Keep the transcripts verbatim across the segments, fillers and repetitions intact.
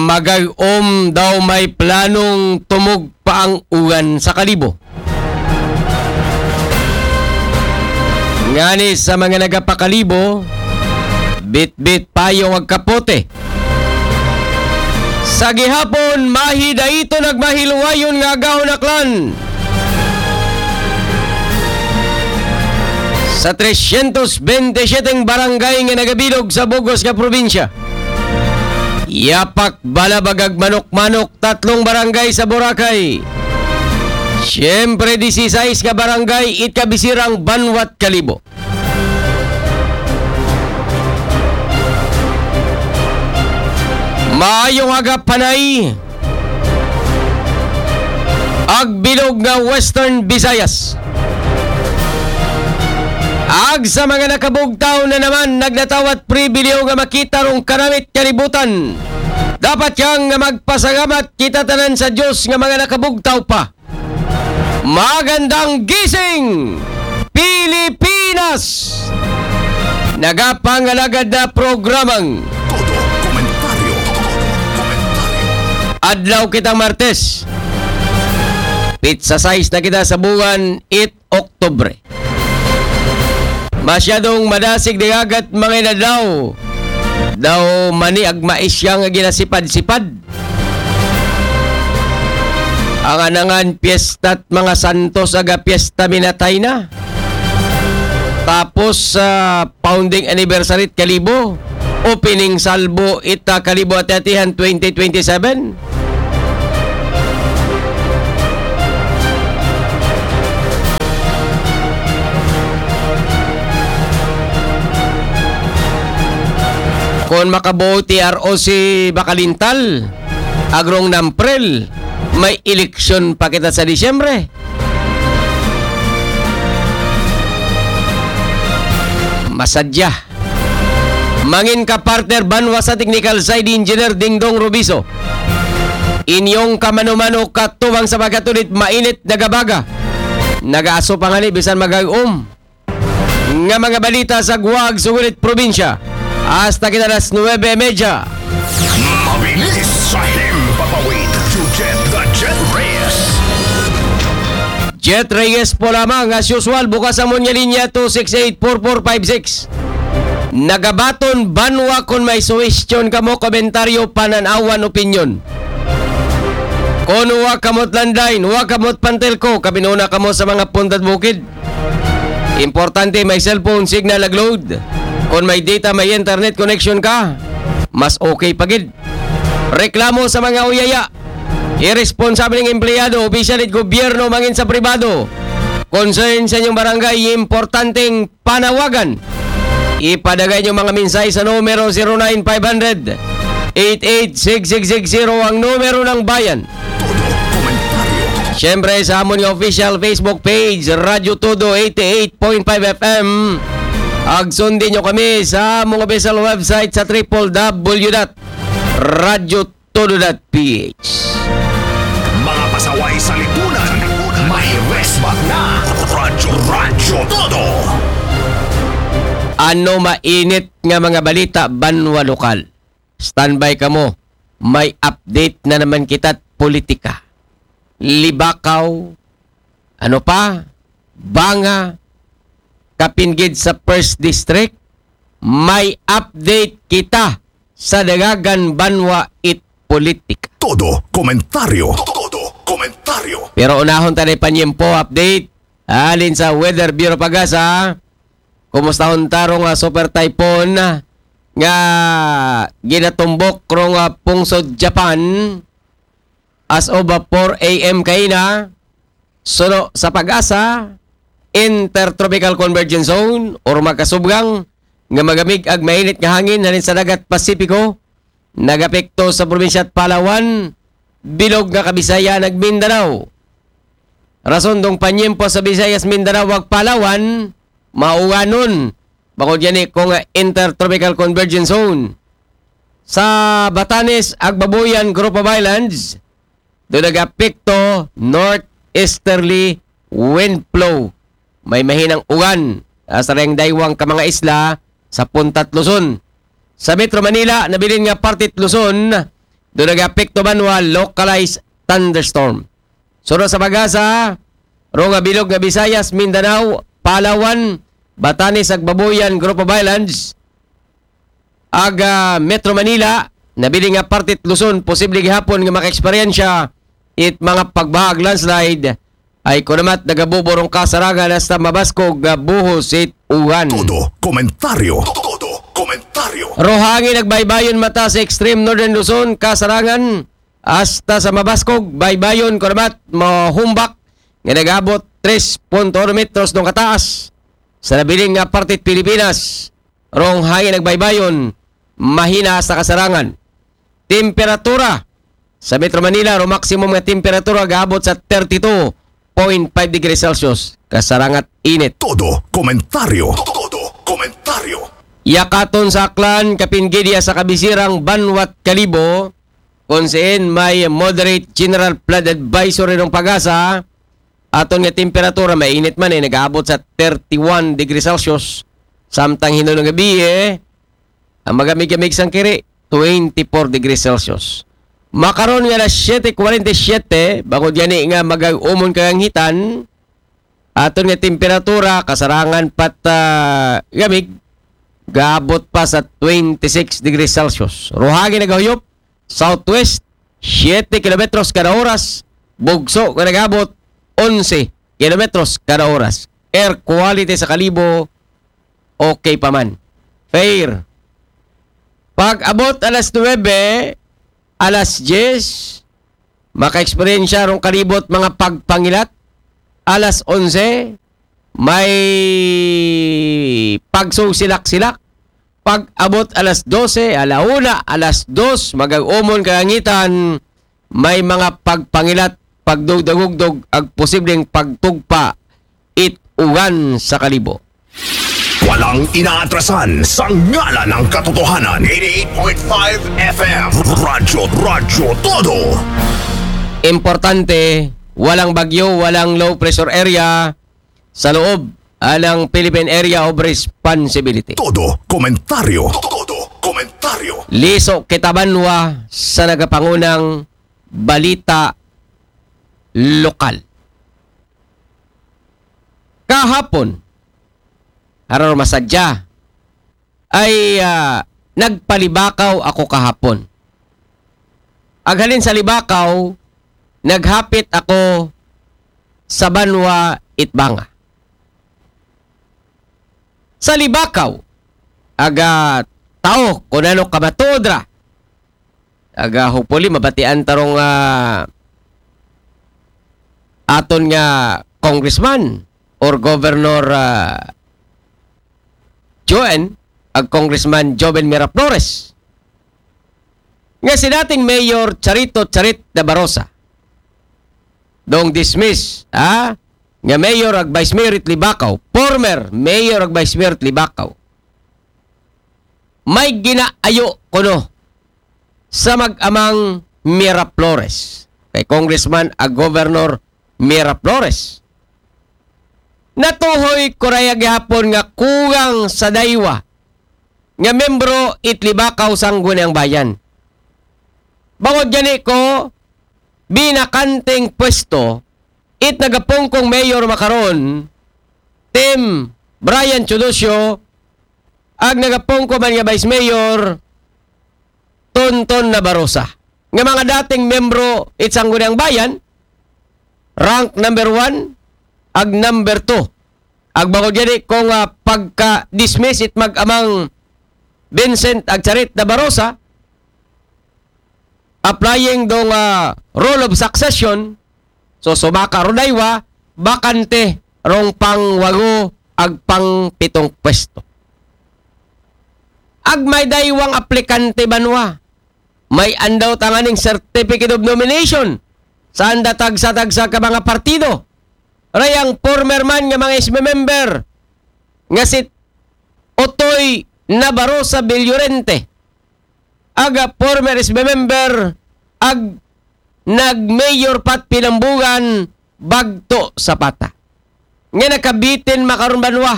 Magag-om daw may planong tumugpa ang ugan sa Kalibo. Ngani sa mga nagapakalibo, bitbit payong ag kapote. Sa gihapon, mahi dayto nagmahiluwayon nga agahon aklan. Sa tresyentos bente siyete barangay nga nagabilog sa bug-os nga probinsya, yapak balabag ag manok-manok, tatlong barangay sa Boracay. Siyempre, disisais nga barangay it kabisirang banwat Kalibo. Maayong aga, panay ag bilog nga Western Visayas. Ag sa mga nakabugtaw na naman, nagnatawat pribilehyo nga makita rong kanamit kalibutan. Dapat yang nga magpasalamat kita tanan sa Diyos nga mga nakabugtaw pa. Magandang gising, Pilipinas! Nagapangalagad na programang Todo Komentaryo. Todo Komentaryo. Adlaw kitang Martes. Pitsa sais na kita sa buwan, it Oktubre. Masyadong madasig dagat mga inadlaw. Daw mani ag maisya nga ginasipad-sipad. Ang anangan piyesta't mga santos aga piyesta minatay na. Tapos sa founding anniversary it Kalibo, opening salvo ita Kalibo Ati-Atihan twenty twenty-seven. Kung makabuo ti R O C Bakalintal, agrong Namprel, may eleksyon pa kita sa Disyembre. Masadya. Mangin ka partner banwa sa technical side engineer Dingdong Rubiso. Inyong kamano-mano katubang sa pagkatulit mainit na gabaga. Nagaaso pa ngani bisan magag-om nga mga balita sa guwag sugulit probinsya. Hasta kita alas nuwebe y media. Mabilis sa himpapawid. You get the Jet Reyes. Jet Reyes po lamang, as usual, bukas ang munya linya two six eight four four five six. Nagabaton banwa kon may suwestyon kamo, komentaryo, pananawan, opinyon. Kon wa kamot landline, wa kamot pantelko, kabinuna kamo sa mga puntad bukid. Importante may cellphone signal nag-load. Kon may data, may internet connection ka, mas okay pa gid. Reklamo sa mga uyaya, irresponsableng empleyado, opisyal it gobyerno, mangin sa pribado. Concern sa inyong barangay, importanteng panawagan. Ipadagay inyong mga mensahe sa numero zero nine five hundred, eight eight six six six zero, ang numero ng bayan. Todo komentaryo. Siyempre, sa amon nga official Facebook page, Radyo Todo eighty-eight point five F M. Ag sundin nyo kami sa among official website sa triple W dot radyo todo dot P H. Mga pasaway sa lipunan, may resbat na. Radyo, Radyo Todo. Ano mainit nga mga balita banwa lokal? Standby kamo. May update na naman kita't politika. Libakaw, ano pa? Banga, kapin gid sa First District, may update kita sa Dalagan Banwa it Politika. Todo komentaryo. Todo komentaryo. Pero unahon ta ni panyempo update. Halin sa Weather Bureau Pagasa, kumustahon ta rong, ah, super typhoon nga ginatumbok rong, ah, pungsod Japan as of, ah, four A M kaina. Suno sa Pagasa, Intertropical Convergence Zone or makasubgang nga magamig ag mainit nga hangin halin sa dagat Pasipiko, nagapekto sa probinsya at Palawan, bilog nga Kabisayan ag Mindanao. Rason dong panyempo sa Visayas, Mindanao ag Palawan, mauwanon. Bangod gani ko nga Intertropical Convergence Zone. Sa Batanes ag Babuyan Group of Islands, do nagapekto northeasterly wind flow. May mahinang ugan, ah, sa rayang daywang ka mga isla sa Puntat Luzon. Sa Metro Manila, nabilin nga parte it Luzon, Do nag-apekto banwa localized thunderstorm. Sunod sa pag-asa, ro nga bilog nga Visayas, Mindanao, Palawan, Batanes ag Babuyan, Group of Islands, ag, ah, Metro Manila, nabilin nga parte it Luzon, posible gihapon nga makaeksperyensya it mga pagbaha ag landslide. Ay kunamat nagabubo rong kasarangan hasta mabaskog nga buhos it uwan. Todo komentaryo. Todo komentaryo. Rohangin ag baybayon mata sa extreme northern Luzon, kasarangan hasta sa mabaskog, baybayon kunamat mahumbak nga nagabot tres punto uno metros dong kataas sa nabilin nga parte Pilipinas. Rong hangin ag baybayon, mahina hasta kasarangan. Temperatura sa Metro Manila, ro maximum nga temperatura gaabot sa thirty-two point five degrees Celsius. Kasarangan init. Todo komentaryo. Todo komentaryo. Yakaton sa Aklan, kapin gid ya sa kabisirang banwat Kalibo, kung siin may moderate general flood advisory ng pag-asa, aton nga temperatura, mainit man eh, nag-aabot sa thirty-one degrees Celsius. Samtang hinuon nga gabii, eh, ang magamig-gamig sang kiri, twenty-four degrees Celsius. Makaron nga alas siyete kuwarenta y siyete, bangod gani nga mag-umon kaganghitan, aton nga temperatura, kasarangan pat, ah, gamig, gaabot pa sa twenty-six degrees Celsius. Rohangin nagahuyop, southwest, siyete kilometros kada oras, bugso nga nagabot, onse kilometros kada oras. Air quality sa Kalibo, okay pa man. Fair. Pag abot alas nuwebe, alas diyes, makaeksperyensya rong Kalibo it mga pagpangilat. Alas onse, may pagsusilak-silak. Pag abot alas dose, ala una, alas dos, magag-umon kaganghitan, may mga pagpangilat, pagdugdagugdog, ag posibleng pagtugpa it uwan sa Kalibo. Walang inaatrasan sa ngalan ng katotohanan. Eighty-eight point five F M. Radyo, Radyo Todo. Importante, walang bagyo, walang low pressure area sa loob ng Philippine Area of Responsibility. Todo komentaryo. Todo komentaryo. Liso kita banwa sa nagapangunang balita lokal. Kahapon, hararo masadya, ay, ah, nagpalibakaw ako kahapon. Aghalin sa libakaw, naghapit ako sa banwa Itbanga. Sa libakaw, aga tao, kung ano kamatuod ra. Aga, hopefully, mabatian tarong, ah, aton nga congressman or governor, ah, Joen, ag Congressman Joven Miraflores. Nga si dating Mayor Charito Charit Nabarosa. Dong dismiss, ha? Nga Mayor ag Vice Mayor it Libakaw. Former Mayor ag Vice Mayor it Libakaw. May ginaayo kuno sa mag-amang Miraflores. Kay Congressman ag Governor Miraflores. Natuhoy ko raya gihapon nga kugang sa daywa nga membro it Libakaw Sangguniang Bayan. Bangod gani ko, binakanteng pwesto it nagapungkong mayor makaron, Tim Brian Teodosio, ag nagapungko man nga Vice Mayor, Tonton Nabarosa. Nga mga dating membro it Sangguniang Bayan, rank number one, ag number two. Ag bangod gani kung, ah, pagka-dismiss it mag-amang Vincent ag Charit Nabarosa, applying dong, ah, rule of succession, so sumaka ro daywa, bakante rong pangwago ag pangpitong pwesto. Ag may daywang aplikante banwa, may andaw tanganing certificate of nomination sa anda tagsa-tagsa ka mga partido. Rayang former man nga mga S B member nga si Otoy Nabarosa Villorente, aga former S B member, ag nag-mayor pat Pinambugan, Bagto Zapata. Nga nakabitin makaron banwa.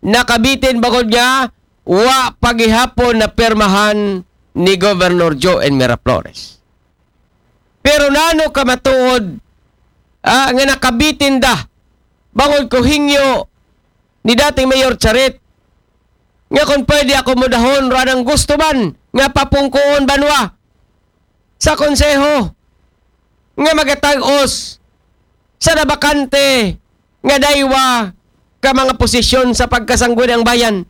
Nakabitin bangod nga wa pa gihapon napirmahan ni Governor Joe N. Miraflores. Pero nano ka matuod, ah, nga nakabitin da bangod ko hingyo ni dating Mayor Charit nga kung pwede ako mudahon ro anang gusto man nga papungkoon banwa sa konseho nga magatag-os sa nabakante nga daywa ka mga posisyon sa pagkasangguniang bayan.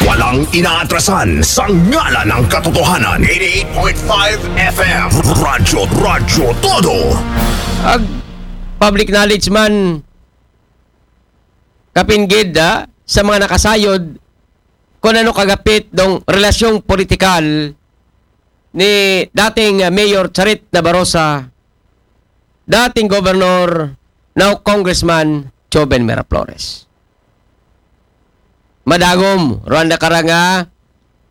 Walang inaatrasan sa ngalan ng katotohanan. Eighty-eight point five F M. Radyo, Radyo Todo. Ag public knowledge man kapinggid, ah, sa mga nakasayod kung ano kagapit dong relasyong politikal ni dating, ah, Mayor Charit Nabarosa, dating Governor, now Congressman Joven Miraflores. Madagom, Rwanda karanga,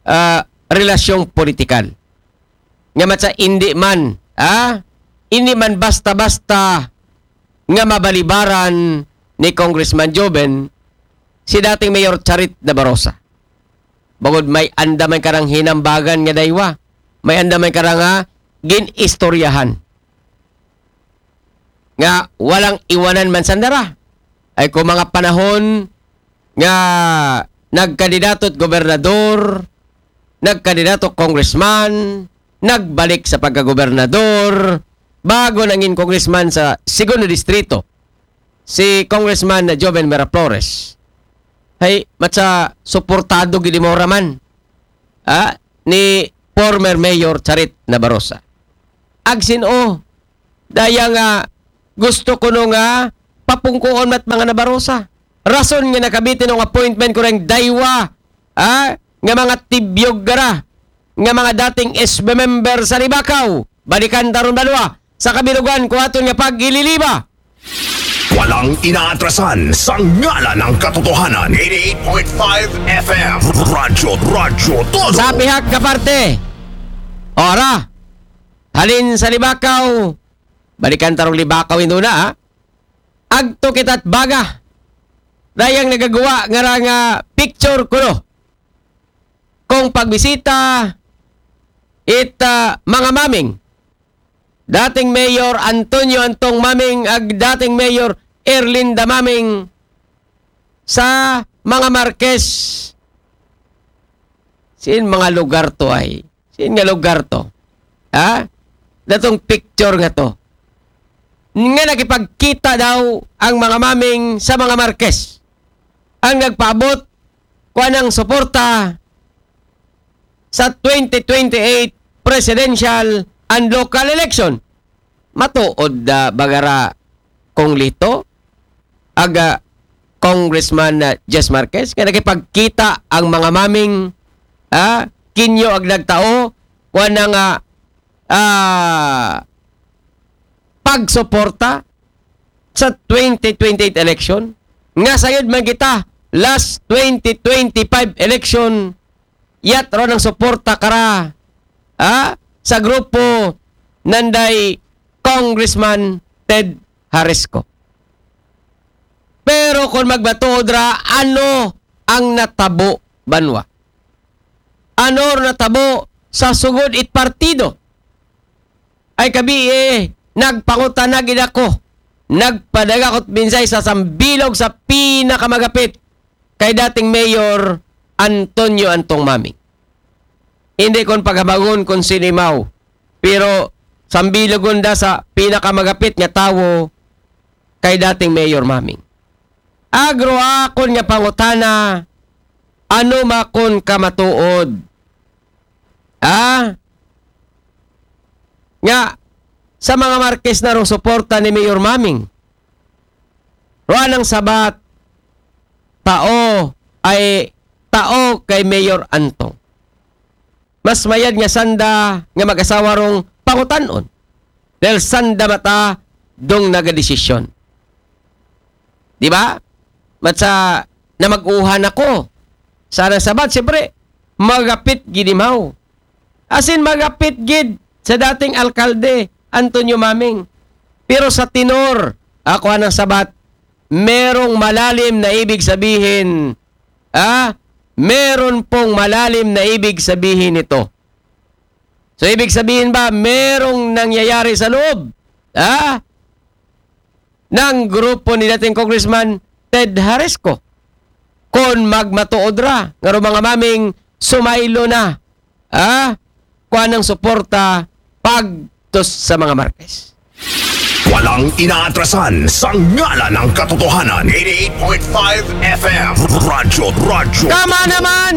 ah, relasyong politikal. Nga matsa indi man, ah, indi man basta-basta nga mabalibaran ni Congressman Joven si dating Mayor Charit Nabarosa. Bangod may anda man karang hinambagan nga daywa, may anda man karang, ah, gin-istoryahan nga walang iwanan man sandara. Ay ko mga panahon nga nagkandidato at gobernador, nagkandidato congressman, nagbalik sa pagkagobernador, bago nangin congressman sa segundo distrito, si Congressman Joven Miraflores. Hay, matsa suportado gid mo raman, ah, ni former Mayor Charit Nabarosa. Agsin o, daya nga gusto ko no nga papungkoon mat mga Nabarosa. Rason nga nakabitin ang appointment ko ring daywa, ah, nga mga tibyog gara, nga mga dating S B member sa Libakaw, balikan taron banwa, sa kabilugan ko aton nga pag-ililiba. Walang inaatrasan sa ngalan ng katotohanan. Eighty-eight point five F M. Radyo, Radyo Todo. Sa pihak ka parte, ora, halin sa Libakaw, balikan tarong Libakaw indo na, ah. Agto kita't baga. Dayang nagagawa nga ra nga picture kuno. Kung pagbisita, it, ah, mga maming, dating Mayor Antonio Antong Maming ag dating Mayor Erlinda Maming sa mga Marquez. Sin mga lugar to ay? Sin nga lugar to? Ha? Datong picture nga to. Nga nakipagkita daw ang mga maming sa mga Marquez. Ang nagpaabot kuan ang suporta sa twenty twenty-eight presidential and local election. Matuod da bagara kong Lito, aga Congressman na Jess Marquez, nga nakipagkita ang mga maming, ah, kinyo ag nagtao, kuan na nga, ah, pagsuporta sa twenty twenty-eight election, nga sayod man kita last twenty twenty-five election, yat ron ang suporta kara, ah, sa grupo nanday Congressman Ted Harisco. Pero kung magbatuod ra, ano ang natabo banwa? Ano ang natabo sa sugod it partido? Ay kabi eh, nagpangutana gid ako. Nagpadagakot minsay sa sambilog sa pinakamagapit kay dating Mayor Antonio Antong Maming. Hindi kon paghabangon kon sinimaw, pero sambilogon da sa pinakamagapit nga tawo kay dating Mayor Maming. Agro akon nga pangutana, ano makon kamatuod? Ah? Nga, sa mga Marquez na rong suporta ni Mayor Maming. Ruan ang sabat, tao ay tao kay Mayor Antong. Mas mayad nga sanda nga mag-asawa rong pangutanon. Dahil sanda mata dong nagadesisyon. Di ba? Matsa na mag-uhan ako. Sana sabat, siyempre, magapit gidimaw. Asin magapit gid sa dating alkalde, Antonio Maming. Pero sa tenor, ako anang sabat, merong malalim na ibig sabihin, ah, meron pong malalim na ibig sabihin nito. So, ibig sabihin ba, merong nangyayari sa loob? Ha? Ng grupo ni dating Congressman Ted Harisco. Kung magmatuod ra, nga ro mga maming sumaylo na. Ha? Kuan ng suporta pagtos sa mga Marquez. Walang inaatrasan sa ngalan ng katotohanan. eighty-eight point five F M. Radyo, radyo. Tama naman!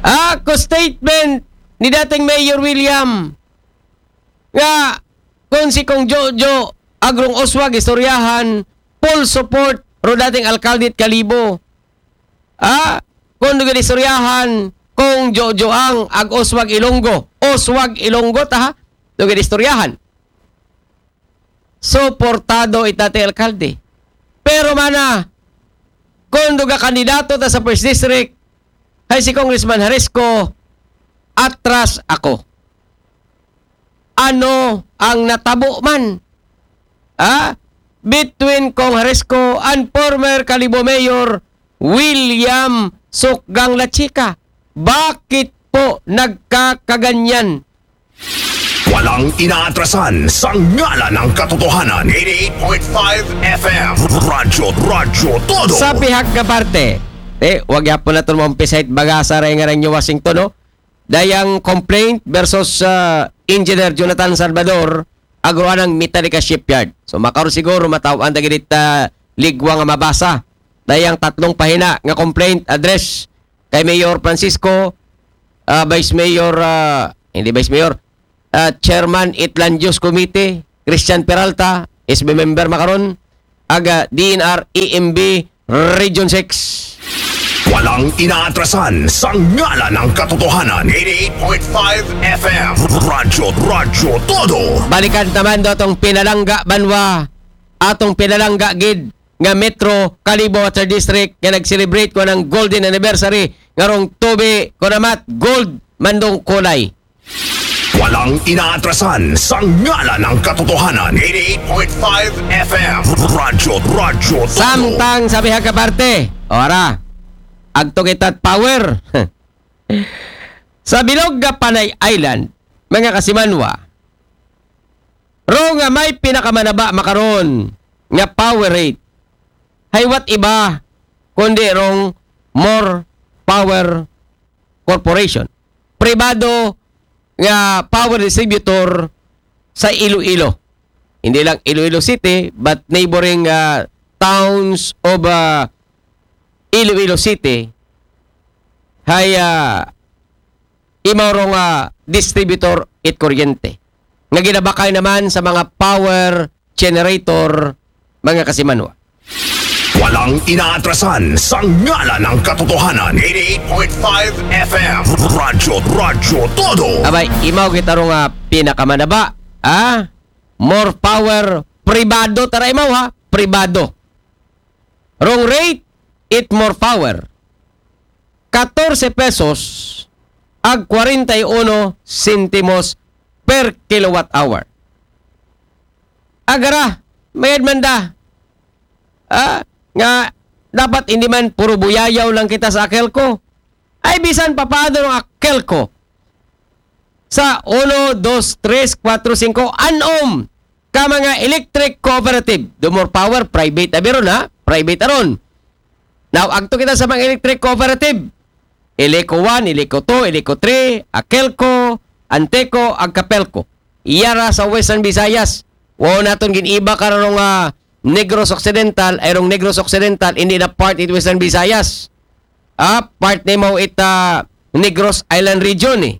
Ako statement ni dating Mayor William nga kung si Kong Jojo Agrong Oswag istoryahan, full support ro dating alkalde at Kalibo. Ah, kung dugi istoryahan, Kong Jojo ang ag Oswag Ilonggo. Oswag Ilonggo ta ha? Dugi istoryahan. Suportado it dating alkalde. Pero mana, kung duga kandidato ta sa first district, hay si Congressman Harisco, atras ako. Ano ang natabo man? Ha? Between Kong Harisco and former Kalibo Mayor William Sukgang Lachika. Bakit po nagkakaganyan? Walang inaatrasan sa ngalan ng katotohanan. eighty-eight point five F M. Radyo, radyo, todo. Sa pihak nga parte, eh, wag yapon naton maumpisa it bagasa ray nga ray New Washington, no? Dayang complaint versus ah, Engineer Jonathan Salvador, agroanang Metallica Shipyard. So, makaron siguro mataw-an ta gid it ah, ligwa nga mabasa. Dayang tatlong pahina nga complaint address kay Mayor Francisco, ah, Vice Mayor, ah, hindi Vice Mayor, ah, Chairman it Land Use Committee, Christian Peralta, S B member makaron, aga D N R E M B Region six. Walang inaatrasan sa ngalan ng katotohanan. eighty-eight point five F M. Radyo, radyo, todo. Balikan naman do atong pinalangga banwa, atong pinalangga gid nga Metro Kalibo Water District nga nag-celebrate ko ng golden anniversary nga rong tubi ko namat gold mandong kulay. Walang inaatrasan sa ngalan ng katotohanan. eighty-eight point five F M. Radyo, radyo, todo. Samtang sa bihag ka parte, ora, agto kita power. Sa bilog nga Panay Island, mga kasimanwa, ro nga may pinakamanaba makaron nga power rate, haywat iba kundi rong More Power Corporation. Pribado nga power distributor sa Iloilo. Hindi lang Iloilo City, but neighboring ah, towns of ah, Iloilo City, hay ah, imaw ro nga distributor it kuryente nga ginabakay naman sa mga power generator, mga kasimanwa. Walang inaatrasan sa ngalan ng katotohanan. eighty-eight point five F M. Radyo, radyo, todo. Abay, imaw kita ro nga pinakamanaba, ha? More power, pribado tara imaw ha, pribado. Rong rate, it More Power. Katorse pesos ag kwarenta y uno sentimos per kilowatt hour. Agara, mayad man da. Ah, nga dapat hindi man puro buyayaw lang kita sa Akelco. Ay bisan papado ng Akelco sa uno, dos, tres, kuwatro, singko, anom ka mga electric cooperative. Do More Power, private abi ron ha? Private aron. Now, agto kita sa mga electric cooperative. Eleco one, Eleco two, Eleco three, Akelco, Anteco, ag Capelco. Iyara sa Western Visayas. Wow naton gin-iba karong ah, Negros Occidental, ay rong Negros Occidental, hindi na part it Western Visayas. Ah, part nimo it ah, Negros Island Region eh.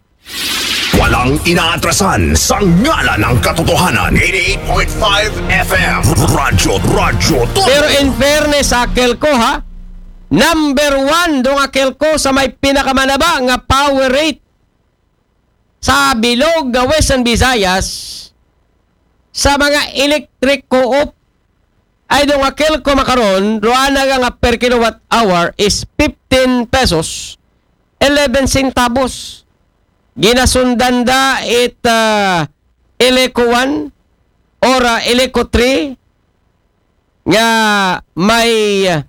Walang inaatrasan sa ngalan ng katotohanan. eighty-eight point five F M. Radyo, radyo, todo. Pero in fairness sa Akelco ha, number one dong Akelco sa may pinakamanaba nga power rate sa bilog nga Western Visayas sa mga electric co-op ay dong Akelco makaron, ro ana nga per kilowatt hour is fifteen pesos, eleven centavos. Ginasundan da it ah, Eleco one or ah, Eleco three nga may ah,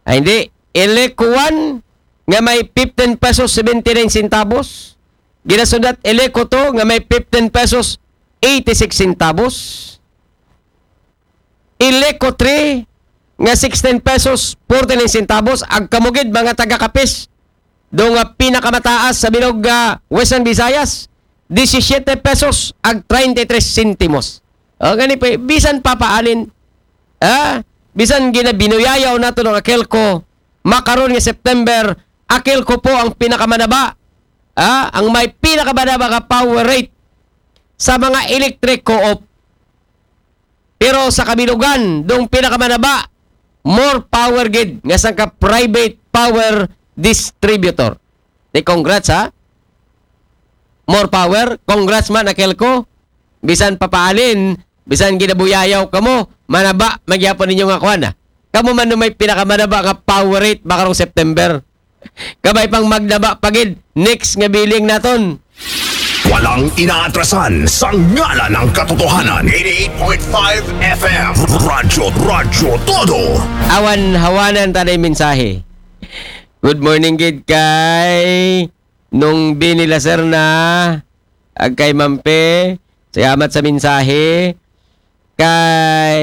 ay hindi, Eleco one nga may fifteen pesos seventy-nine centavos. Ginasunod Eleco two nga may fifteen pesos eighty-six centavos. Eleco three nga sixteen pesos forty-nine centavos. Ag kamo gid, mga taga Capiz, do nga pinakamataas sa bilog nga Western Visayas, disisiete pesos ag treinta y tres sentimos. O, gani pa, bisan papaalin, ah, bisan ginabinuyayaw nato ng Akelco, makaron nga September, Akelco po ang pinakamanaba, ah, ang may pinakamanaba nga power rate sa mga electric co-op. Pero sa kabilugan, dong pinakamanaba, more power gid nga sangka private power distributor. Ni congrats, ha? More power, congrats man, Akelco. Bisan papaalin, bisan ginabuyayaw kamo, manaba, magyapon ninyo nga kwan, ha? Kamo man may pinakamanaba nga power rate, makarong September. Kabay pang magnaba pagid, next nga billing naton. Walang inaatrasan sa ngalan ng katotohanan. eighty-eight point five F M. Radyo, Radyo Todo. Awan hawanan tanay mensahe. Good morning gid kay Nung Bini Lacerna, ag kay Mampe, salamat sa mensahe. Kay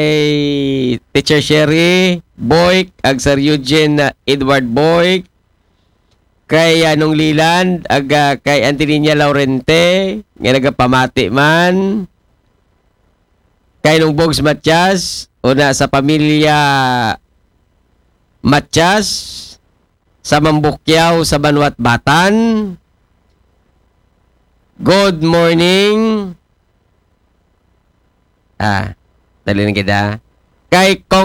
Teacher Sherry Boyk, ag Sir Eugene, uh, Edward Boyk, kay Anong Leland, ag uh, kay Angelina Laurente, nga nagapamati man. Kay Nung Bogs Matias, una sa pamilya Matias, sa Mambukyaw, sa Banwat Batan. Good morning. Ah, dali lang kita. Kay Kong